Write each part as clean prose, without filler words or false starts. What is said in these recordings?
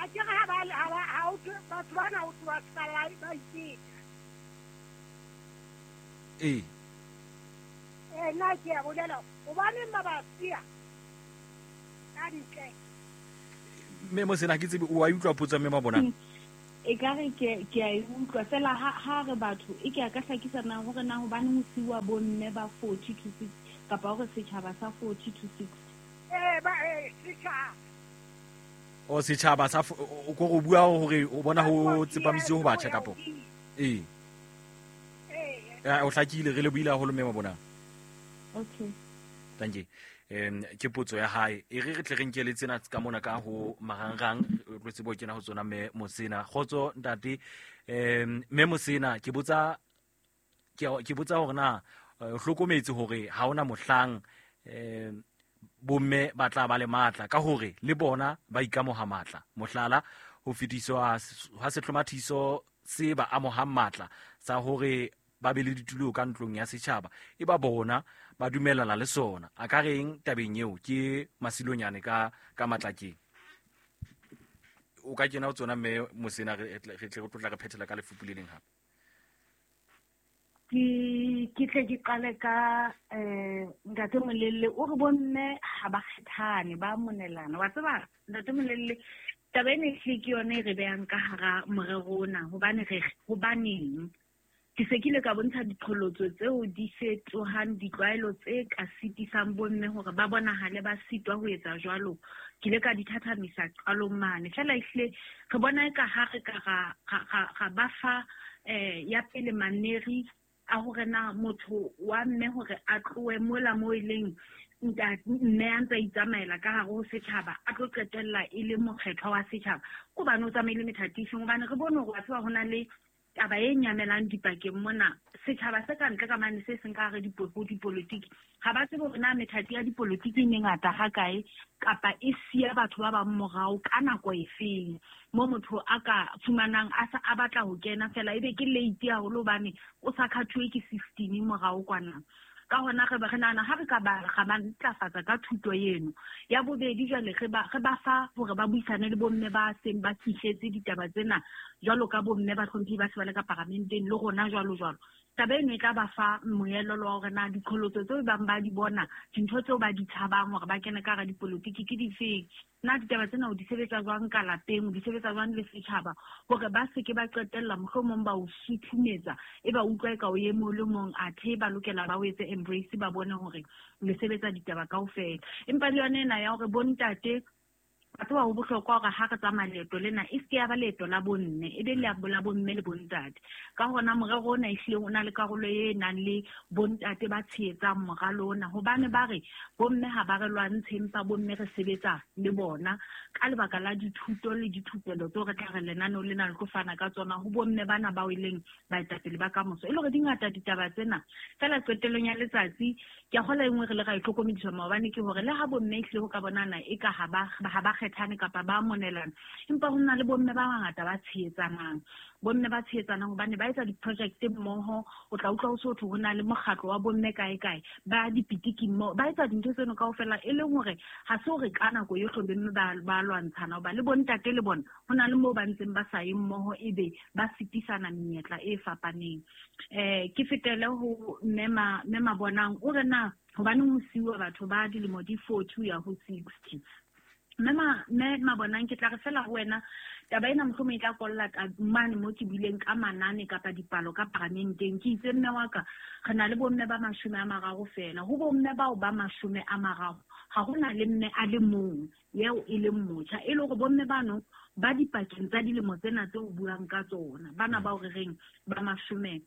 A ke re ha ba ha ba ha o batho bana o tloha ska la ba iteka. Ee. Eh nna ke a bolela hobaneng ba ba siya ka ntle. Mme Mosena ke tsebe o a utlwa potso mme Mabonang? E ka re ke ke a e utlwa fela ha ha re batho e ke a ka hlakisa na hore na hobaneng ho siuwa bomme ba 40 to 60 kapa hore setjhaba sa 40 to 60. Eh ba eh setjhaba. O setjhaba sa o ko go bua hore o bona ho tsepamisitse ho batjha kapo? Ee. Ee. O hlakile re lebohile haholo mme Mabonang. Okay. Thank you. Ke potso ya hae e re re tle re nke le tsena ka mona ka ho marangrang re tsebo kena ho tsona mme Mosena. Kgotso ntate, mme Mosena ke botsa ke botsa hore na o hlokometse hore ha hona mohlang bomme ba tla ba le matla ka hore le bona ba ikamoha matla, mohlala ho fetiswa ha sehlomathiso se ba amohang matla sa hore ba be le ditulo ka ntlong ya setjhaba e ba bona ba dumellana le sona. A ka reng tabeng eo? Ke Masilonyane ka ka Matlakeng. O ka kena ho tsona mme Mosena, re tle re tlotla re phethela ka lefupu le leng hape. Ke tle ke qale ka ntate Molelle o re bomme ha ba kgethane ba monelana. Wa tseba ntate Molelle, taba ena ehlile ke yone e re behang ka hara morero ona, hobane re hobaneng ke se ke ile ka bontsha diqholotso tseo di fetohang ditlwaelo tse ka sitisang bomme hore ba bonahale ba sitwa ho etsa jwalo. Ke ile ka di thathamisa qalong mane. Feela ehlile re bona eka ha re ka ra ba fa ya pele maneri a hore na motho wa mme hore a tlohe mola moo e leng mme a ntse a itsamaela ka hare ho setjhaba, a tlo qetella e le mokgethwa wa setjhaba. Ke hobane o tsamaile methati efeng? Hobane re bone hore wa tseba ho na le taba e nyamelang dipakeng mona, setjhaba se ka ntle ka mane se seng ka hare ho dipolotiki, ha ba tsebe hore na methati ya dipolotiki e mengata ha kae, kapa e siya batho ba bang morao ka nako efeng, mo motho a ka fumanang a sa, a batla ho kena fela ebe ke late haholo hobane o sa khathuwe ke system morao kwana. Ka hona re ba, re nahana ha re ka ba, ra ba ntlafatsa ka thuto eno. Ya bobedi jwale re ba, re ba fa hore ba buisane le bomme ba seng ba fihletse ditaba tsena jwalo ka bomme ba hlomphehi ba se ba le ka paramenteng le rona jwalo jwalo. Taba eno e tla ba fa moelelo wa hore na diqholotso tseo bang ba di bona, dintho tseo ba di tshabang hore ba kene ka hara dipolotiki ke difeng. Na ditaba tsena o di sebetsa jwang ka lapeng, o di sebetsa jwang le setjhaba, hore ba se ke ba qetella mohlomong ba o suthumetsa, e ba utlwa eka o e mong le mong, athe ba lokela ba o etse embrace, ba bone hore le sebetsa ditaba kaofela. Empa le yona ena ya hore bontate, ba tseba ho bohlokwa hore ha re tsamaya leeto lena, e se ke ya ba leeto la bomme, e be la bomme le bontate. Ka hona morero ona ehlile o na le karolo e nang le bontate ba tshehetsang moralo ona, hobane ba re bomme ha ba re lwantshe, empa bomme re sebetsa le bona ka lebaka la dithuto le dithupelo tseo re tla re lenaneo lena le tlo fana ka tsona ho bomme bana bao e leng baetapele ba kamoso. E le hore di ngata ditaba tsena, fela qetellong ya letsatsi ke a kgolwa e nngwe re le ra e hlokomediswa maobane ke hore le ha bomme ehlile ho ka bonana e ka ha ba kgethane kapa ba monelana, empa ho na le bomme ba bangata ba tshehetsanang. Bomme ba tshehetsanang hobane ba etsa di-project mmoho, o tla utlwa ho se ho thwe ho na le mokgatlo wa bomme kae kae, ba dipitiki mmoho, ba etsa dintho tseno kaofela, e leng hore ha se hore ka nako yohle bomme ba lwantshana, hoba le bontate le bona ho na le moo ba ntseng ba sa ye mmoho, ebe ba sitisana menyetla e fapaneng. Ke fetele ho mme Mabonang, o re na hobaneng ho siuwa batho ba dilemo di 40 ho ya ho 60. Mme Mabonang, ke tla re fela ho wena, taba ena mohlomong e tla kolla ka mane mo ke buileng ka manane kapa dipalo ka paramenteng. Ke itse mme wa ka, re na le bomme ba 30 fela. Ho bomme bao ba 30, ha hona le mme a le mong eo e leng motjha, e le hore bomme bano ba dipakeng tsa dilemo tsena tse o buang ka tsona, bana bao re reng ba 30.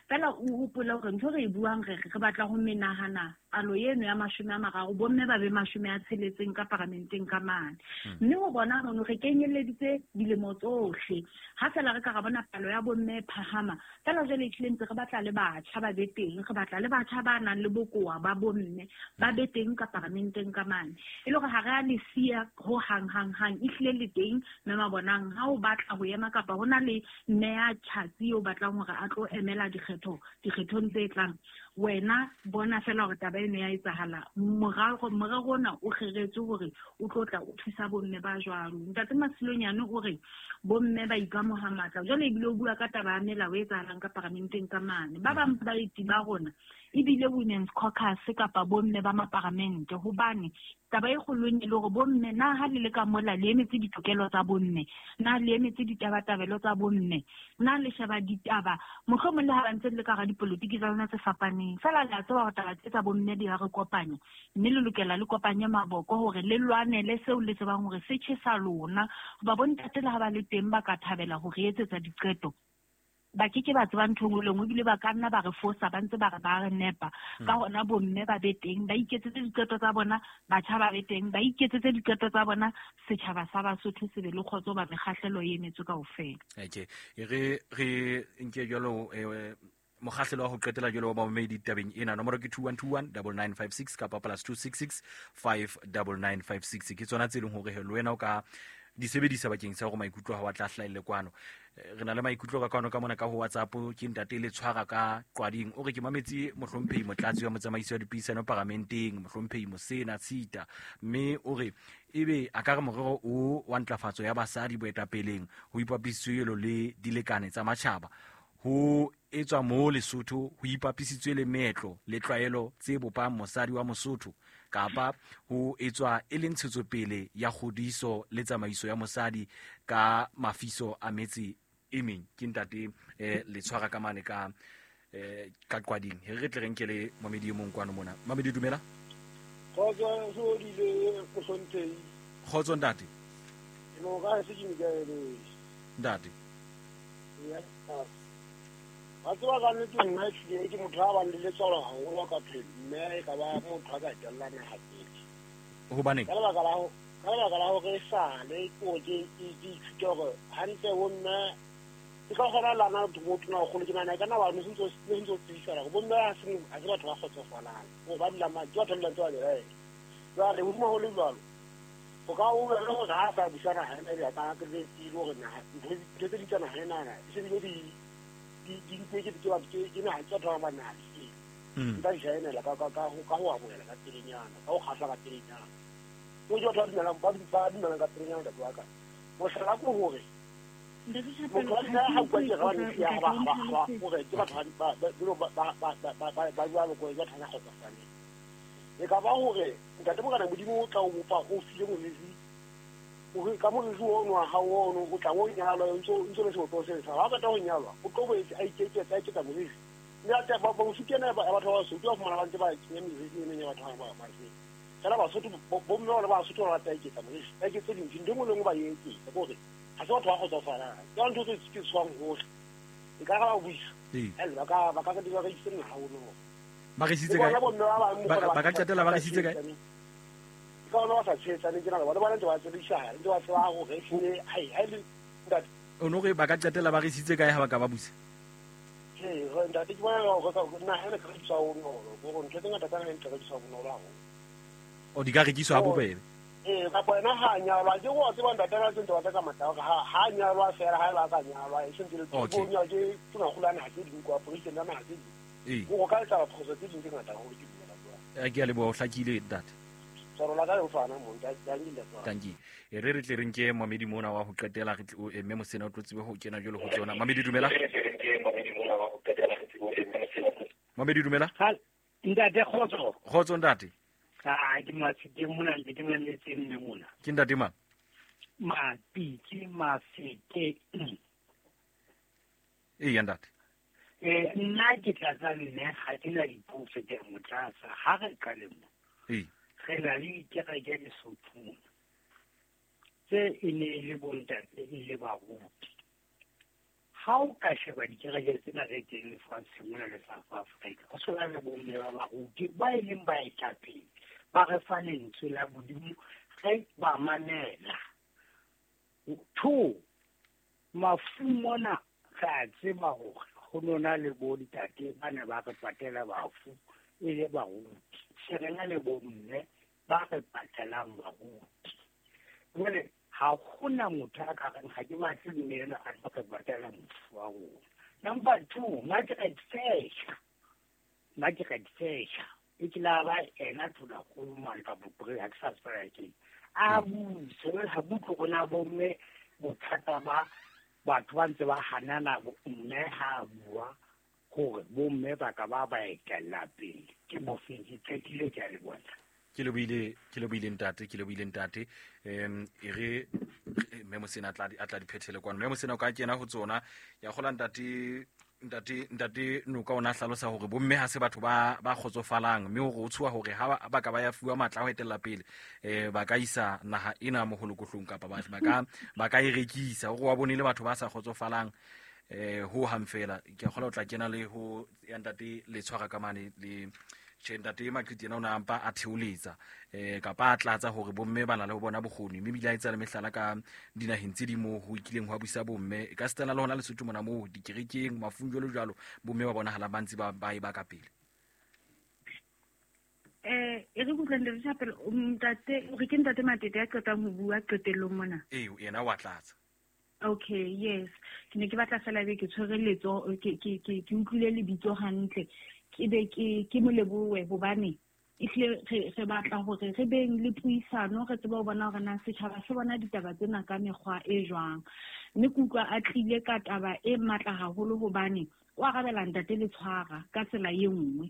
Fela o hopole hore ntho re e buang re re batla ho menahana palo eno ya 30, bomme ba be 60 ka paramenteng ka mane. Mme ho bona mono re kenyelleditse dilemo tsohle. Ha fela re ka ra bona palo ya bomme e phahama, fela jwale ehlile ntse re batla le batjha ba be teng, re batla le batjha ba nang le bokowa ba bomme ba be teng ka paramenteng ka mane. E le hore ha Ha re a le siya ho hang hang hang, ehlile le teng mme Mabonang. Ha o batla ho ema kapa ho na le mme ya tjhatsi o batlang hore a tlo emela dikgethong tse tlang, wena bona fela hore taba eno ya etsahala. Morero ona o kgeretswe hore o tlo tla o thusa bomme ba jwalo. Ntate Masilonyane o re bomme ba ikamoha matla, jwale ebile o bua ka taba ya melao e etsahalang ka paramenteng ka mane. Ba bang baeti ba rona ebile Women's Caucus kapa bomme ba maparamente, hobane taba e kgolo e le hore bomme na ha le le ka mola le emetse ditokelo tsa bomme, na le emetse ditabatabelo tsa bomme, na le sheba ditaba mohlomong le ha ba ntse le ka hara dipolotiki tsa lona tse fapaneng, fela le a tseba hore taba tse tsa bomme di a re kopanya, mme le lokela le kopanye maboko hore le lwanele seo le tsebang hore se tjhesa lona. Hoba bontate le ha ba le teng ba ka thabela ho re etsetsa diqeto, ba ke ke ba tseba ntho e nngwe le nngwe, ebile ba ka nna ba re fosa ba ntse ba re ba re nepa. Ka hona bomme ba be teng, ba iketsetse diqeto tsa bona, batjha ba be teng, ba iketsetse diqeto tsa bona, setjhaba sa Basotho se be le kgotso, ba mekgahlelo e emetswe kaofela. Okay, re nke jwalo mokgahlelo wa ho qetela jwalo wa bamamedi tabeng ena. Nomoro ke 2121 9956 kapa +266 59956. Ke tsona tse leng hore le wena o ka di sebedisa bakeng sa hore maikutlo ha wa tla hlahelle kwano. Re na le maikutlo ka kwano ka mona ka ho WhatsApp. Ke ntate le tshwara ka Qwading, o re ke mametse mohlomphehi motlatsi wa motsamaisi wa dipuisano paramenteng, mohlomphehi Mosena Tshita, mme o re ebe a ka re morero o wa ntlafatso ya basadi boetapeleng ho ipapisitswe le dilekane tsa matjhaba, ho etswa mo Lesotho ho ipapisitswe le meetlo le tlwaelo tse bopang mosadi wa Mosotho, kapa ho etswa e le ntshetsopele ya kgodiso le tsamaiso ya mosadi ka mafiso a metse e meng. Ke ntate le tshwara ka mane ka Qwading. Re tle re nke le mamedi e mong kwano mona. Mamedi, dumela. Kgotso, soodile mohlomphehi. Kgotso ntate. No ka se ke nkaele. Ntate. Ya. Wa tseba ka nnete nna ehlile ke motho a bang le letswalo haholo ka phelo, mme e ka ba motho a ka etella naha pele. Hobaneng? Ka lebaka la hore esale ke hore ke ithute hore hantle bomme ke ka kgona lana motho na kgolo ke nahana e ka nna ba ne se ntse tsebisana hore bomme ha se batho ba kgotsofalang, hore ba dulang ke batho ba dulang tse ba belaela. Jwale hodima ho le jwalo, ho ka o bele hore ha a sa busa naha ena ebe a ka tsebile hore naha ntho tse ding tsa naha enana e se bile di ntse ke ke naha tsa batho ba naha di nka jaenela ka ho amohela ka pelenyana, ka ho kgahla ka pelenyana. Ke batho ba dumelang ba dumelang ka pelenyana ntate wa ka. Mohlala ke hore motho wa ha bua ke ra ne ya ba hore ke batho ba jwalo ko batho ba kgotsofaleng. E ka ba hore ntate Morena Modimo o tla o bopa o file moriri, o ka moriri ono wa hao ono o tla o nyalwa o ntso le sebopeho se sa. Ha o qeta ho nyalwa o tlo boetse a ikeketsa a iketsa moriri. Mme ate ba Basotho ena ba batho ba Basotho ba fumana ba ntse ba kenya meriri ena ya batho ba ba. Fela Basotho bomme bona ba Basotho ba rata iketsa moriri, ba iketse dintho, ntho e nngwe le nngwe ba e etsetsa. Ke hore ha se batho ba kgotsofalang. Ke ntho tse ke tshwang hohle. E ka ba buisa. Ba ka ba ka rekisitse naha ono. Ba rekisitse kae? Ba ka qetella ba rekisitse kae? Ka bona ba sa tshehetsane tjena, bona ba ntse ba tsebisana, ntse ba tseba hore ehlile hai le ntate. O no re ba ka qetella ba rekisitse kae ha ba ka ba busa? Ee, ntate ke bona hore naha ena e ka rekiswa bonolo, hore ntho tse ngata tsa naha e ka rekiswa bonolo haholo. O di ka rekiswa ha bobebe? Ee, kapa ena ha nyalwa, ke go tseba ntate ba ntse ba tsa matla hore ha nyalwa fela ha ba ka nyalwa, e sentse le bo nyalwa ke tona naha tse ding kwa president ya naha tse ding. Go ka etsa phoso tse ding tse ngata haholo ke dumela jwalo. Ke a leboha, o hlakile ntate. Tanki. Re re tle re nke mamedi mona wa ho qetela, re tle mme Mosena o tlo tsebe ho kena jwalo ho tsona. Mamedi dumela. Mamedi dumela. Ntate kgotso. Kgotso ntate. Ah, ke Maseke mona, ke mametse mme mona. Ke ntate mang? Mapitsi Maseke. Ee ntate. Nna ke tlatsa mme ha ke na dipotso ke mo tlatsa ha re qale mo. Ee. Re na le dikereke Lesotho tse e ne e le bontate e le baruti. Ha o ka sheba dikereke tsena tse teng lefatsheng mona le South Africa, ho so na le bomme ba baruti ba e leng baetapele, ba re fa lentswe la Modimo, re ba mamela. Two, mafu mona re a tseba hore ho nona le bontate ba ne ba re patela bafu e le baruti. Se re na le bomme ba re patalang baruti. Jwale ha hona motho a ka reng ha ke batle mme enwa a tlo re patala mofu wa rona. Number 2, Margaret Thatcher. Margaret Thatcher e ke la ba ena Tonakgolo mane kapa ha ke sa tseba ke a buse ha butle rona bomme bothata ba batho ba ntse ba hanana mme ha bua hore bomme ba ka ba ba etella pele ke bofeng ke qetile ke a le bona. Ke lebohile ntate, e re mme Mosena a tla diphethele kwano. Mme Mosena o ka kena ho tsona ya kgola ntate Noka ona hlalosa hore bomme ha se batho ba kgotsofalang, mme hore o tshuwa hore ha ba ka ba ya fuwa matla a ho etella pele ba ka isa naha ena moholokohlong kapa ba ka e rekisa, hore wa bone le batho ba sa kgotsofalang ho hang fela. Ke kgola o tla kena le ho ya ntate le tshwara ka mane le tjhe ntate Maqiti yena o na ampa a theoletsa kapa a tlatsa hore bomme ba na le ho bona bokgoni, mme ebile a etsa le mehlala ka dinaheng tse ding moo ho ikileng ho busa bomme, e ka sitana le hona Lesotho mona moo dikerekeng mafung jwalo jwalo bomme ba bonahala ba ntse ba e ba ka pele. E re kutlwe ntate Thapelo, ntate o re ke ntate Matete ya qetang ho bua qetellong mona. Ee, yena wa tlatsa. Okay, yes. Ke ne ke batla fela be ke tshwere letso, ke utlwile lebitso hantle. Ke be ke mo lebohe hobane ehlile re batla hore re beng le puisano, re tsebe ho bona hore na setjhaba se bona ditaba tsena ka mekgwa e jwang. Mme ke utlwa a tlile ka taba e matla haholo hobane o arabela ntate Letshwara ka tsela e nngwe.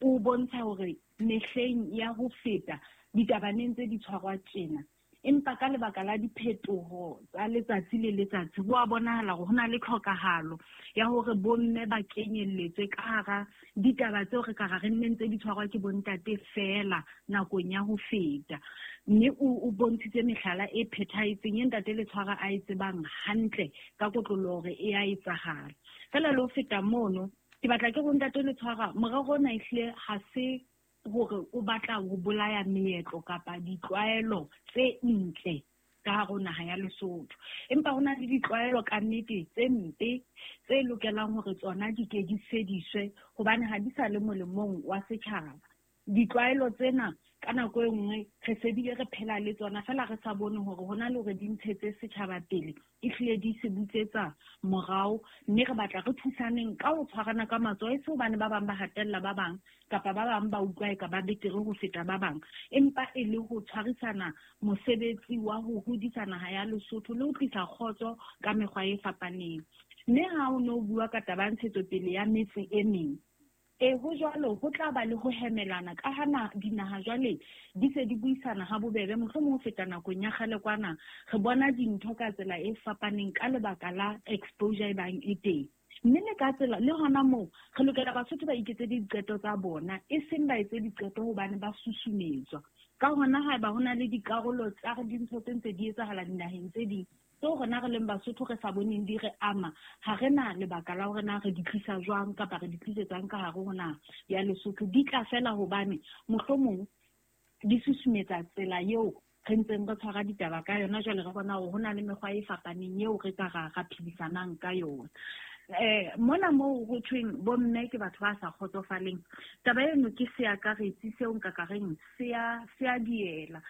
O bontsha hore mehleng ya ho feta ditaba ne ntse di tshwarwa tjena, empa ka lebaka la diphetoho tsa letsatsi le letsatsi ho a bonahala hore ho na le tlhokahalo ya hore bomme ba kenyelletswe ka hara ditaba tseo re ka ra re nne ntse di tshwarwa ke bontate fela nakong ya ho feta. Mme o bontshitse mehlala e phethahetseng e ntate Letshwara a e tsebang hantle ka kotloloho hore e a etsahala. Fela le ho feta mono, ke batla ke ho ntate Letshwara, morero ona ehlile ha se hore o batla ho bolaya meetlo kapa ditlwaelo tse ntle ka hare ho naha ya Lesotho, empa ho na le ditlwaelo ka nnete tse mpe tse lokelang hore tsona di ke di fediswe hobane ha di sa le molemong wa setjhaba. Ditlwaelo tsena ka nako e nngwe re se bile re phela le tsona fela re sa bone hore hona le hore di ntshetse setjhaba pele, ehlile di se butsetsa morao. Mme re batla re thusaneng ka ho tshwarana ka matsoho, e se hobane ba bang ba hatella ba bang kapa ba bang ba utlwa eka ba betere ho feta ba bang, empa e le ho tshwarisana mosebetsi wa ho hodisa naha ya Lesotho le ho tlisa kgotso ka mekgwa e fapaneng. Mme ha o no bua ka taba ya ntshetsopele ya metse e meng, ho jwalo, ho tla ba le ho hemelana ka ha dinaha jwale di se di buisana ha bobebe, mohlomong ho feta nakong ya kgale kwana. Re bona dintho ka tsela e fapaneng ka lebaka la exposure e bang e teng. Mme le ka tsela le hona moo re lokela Basotho ba iketse diqeto tsa bona, e seng ba etse diqeto hobane ba susumetswa. Ka hona haeba ho na le dikarolo tsa dintho tse ntse di etsahala dinaheng tse ding tseo rona re leng Basotho re sa boneng di re ama, ha re na lebaka la hore na re di tlisa jwang kapa re di tlisetsang ka hare ho naha ya Lesotho. Di tla fela hobane mohlomong di susumetsa tsela eo re ntseng re tshwara ditaba ka yona. Jwale re bona hore ho na le mekgwa e fapaneng eo re ka ra phedisanang ka yona. Mona moo ho thweng bomme ke batho ba sa kgotsofaleng, taba eno ke seakaretsi seo nka ka reng se a diela.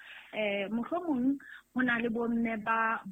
Mohlomong ho na le bomme ba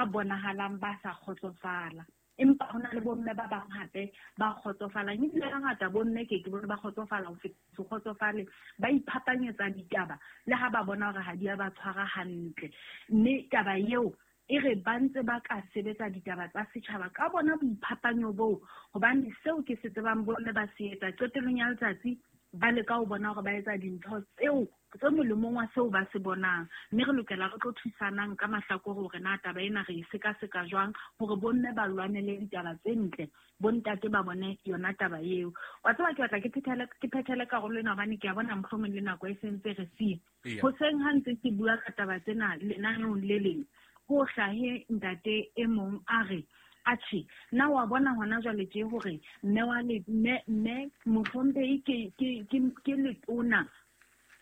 bonahalang ba sa kgotsofala, empa ho na le bomme ba bang hape ba kgotsofalang. Ebile hangata bomme ke bone ba kgotsofala ho feta se kgotsofale, ba iphapanyetsa ditaba le ha ba bona hore ha di a ba tshwara hantle. Mme taba eo e re ba ntse ba ka sebetsa ditaba tsa setjhaba ka bona boiphapanyo boo, hobane seo ke se tsebang bomme ba se etsa qetellong ya letsatsi ba leka ho bona hore ba etsa dintho tseo tse molemong wa seo ba se bonang. Mme re lokela re tlo thusanang ka mahlakore hore na taba ena re e sekaseka jwang hore bomme ba lwanele ditaba tse ntle, bontate ba bone yona taba eo. Wa tseba ke batla ke phethele karolo ena hobane ke a bona mohlomong le nako e sentse re siya. Hoseng ha ntse ke bua ka taba tsena lenaneong le leng, ho hlahe ntate e mong a re, atjhe, na wa bona hona jwale tje hore mme wa le mme mohlomphehi ke letona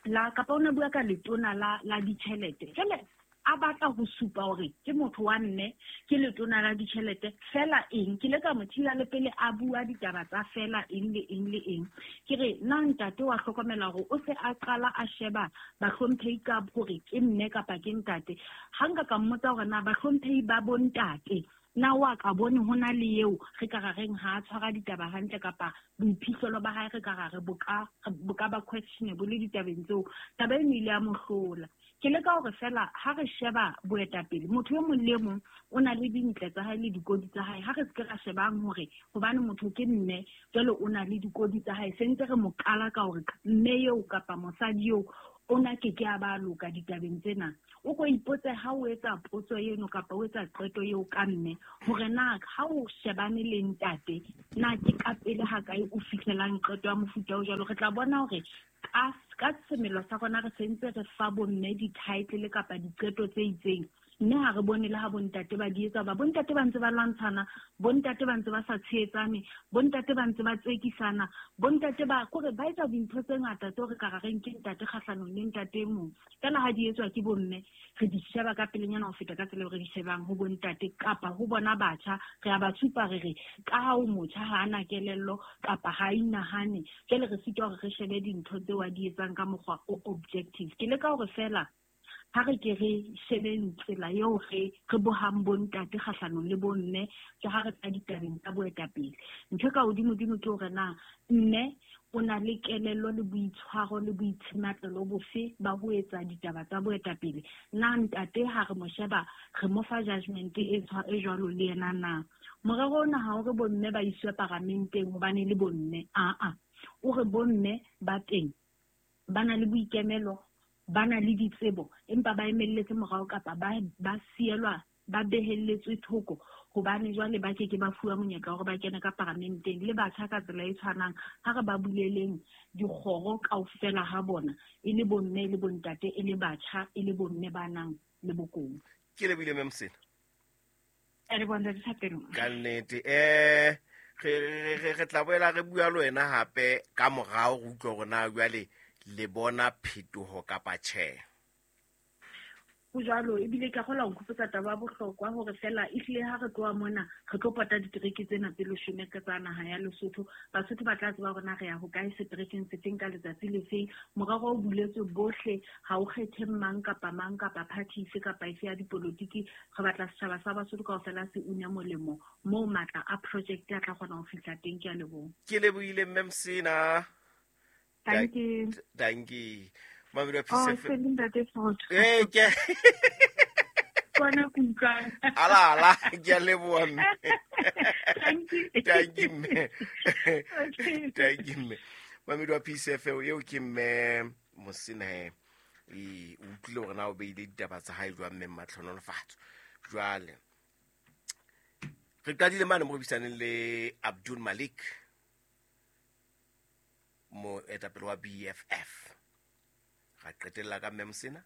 la kapa o ne bua ka letona la ditjhelete. Jwale A batla ho supa hore ke motho wa mme, ke letona la ditjhelete, fela eng. Ke ile ka mo thila le pele a bua ditaba tsa fela eng le eng le eng. Ke re na ntate wa hlokomela hore o se a qala a sheba bahlomphehi ka hore ke mme kapa ke ntate. Ha nka ka mmotsa hore na bahlomphehi ba bontate na wa ka bone ho na le eo re ka ra reng ha a tshwara ditaba hantle kapa boiphihlelo ba hae re ka ra re bo ka ba questionable ditabeng tseo. Taba eno ile ya mo hlola. Ke leka hore fela ha re sheba boetapele, motho e mong le mong o na le dintle tsa hae le dikodi tsa hae. Ha re se ke ra shebang hore hobane motho ke mme jwale o na le dikodi tsa hae, se ntse re mo qala ka hore mme eo kapa mosadi eo o na ke ke a ba loka ditabeng tsena. O ko ipotse ha o etsa potso eno kapa o etsa qeto eo ka mme, hore na ha o shebane le ntate, na ke ka pele ha kae o fihlelang qeto ya mofuta o jwalo. Re tla bona hore ka semelo sa rona re sentse re fa bomme di-title kapa diqeto tse itseng, mme ha re bone le ha bontate ba di etsa. Ba bontate ba ntse ba lwantshana, bontate ba ntse ba sa tshehetsane, bontate ba ntse ba tsekisana, bontate ba kore ba etsa dintho tse ngata tseo re ka ra reng ke ntate kgahlanong le ntate e mong. Fela ha di etswa ke bomme, re di sheba ka pelenyana ho feta ka tsela eo re di shebang ho bontate kapa ho bona batjha. Re a ba supa re re ka ha o motjha ha ana kelello kapa ha a inahane, jwale re sitwa hore re shebe dintho tseo a di etsang ka mokgwa o objective. Ke leka hore fela ha re ke re shebeng tsela eo re bohang bontate kgahlanong le bomme, ke ha re tla ditabeng tsa boetapele. Ntho e ka hodimodimo ke hore na mme o na le kelello le boitshwaro le boitshimatlelo bofe ba ho etsa ditaba tsa boetapele. Na ntate ha re mo sheba re mo fa judgment e jwalo le yena na? Morero ona ha o re bomme ba iswe paramenteng hobane le bomme, aa. O re bomme ba teng, ba na le boikemelo, ba na le ditsebo, empa ba emelletse morao kapa ba sielwa, ba behelletswe thoko hobane jwale ba ke ke ba fuwa monyetla hore ba kene ka paramenteng. Le batjha ka tsela e tshwanang, ha re ba buleleng dikgoro kaofela ha bona, e le bomme, e le bontate, e le batjha, e le bomme ba nang le bokong. Ke lebohile mme Mosena. Re bona dithapelo. Ka nnete, re tla boela re bua le wena hape ka morao re utlwe hore na jwale le bona phetoho kapa tjhe. Ho jwalo, ebile ke a kgolwa ho nkhopotsa taba ya bohlokwa hore fela ehlile ha re tloha mona re tlo pota ditereke tsena tse leshome ka tsa naha ya Lesotho. Basotho ba tla tseba hore na re ya hokae seterekeng sefeng ka letsatsi le feng. Morero o buletswe bohle, ha o kgethe mang kapa mang kapa party efe kapa efe ya dipolotiki. Re batla setjhaba sa Basotho kaofela se une molemo moo matla a project a tla kgona ho fihla teng. Ke a leboha. Ke lebohile mme Mosena. Thank you. Thank you. Mamelo Oh, ntate Sotho. Ke. Kona kutlwa. Ala ala, ke a leboha mme. Thank you. Thank you mme. Okay. Thank you mme. Mamelo wa Peace FM eo ke mme Mosena he. E utlwile hore na o beile ditaba tsa hae jwang mme Matlhonolofatso. Jwale re qadile mane mo re buisaneng le Abdul Malik, moetapele wa BFF. Ra qetella ka mme Mosena,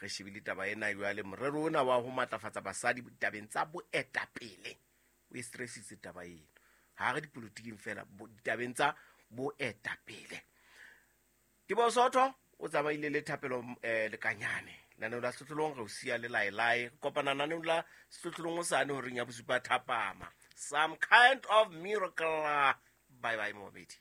re shebile taba ena jwale morero ona wa ho matlafatsa basadi ditabeng tsa boetapele. O e stressitse taba eno. Ha re dipolotiking fela, ditabeng tsa boetapele. Teboho Sotho o tsamaile le Thapelo Lekanyane. Lenaneo la Sehlohlolong re o siya le laelae. Re kopana naneong la Sehlohlolong hosane horeng ya bosupa thapama. Some kind of miracle. Bye bye momedi.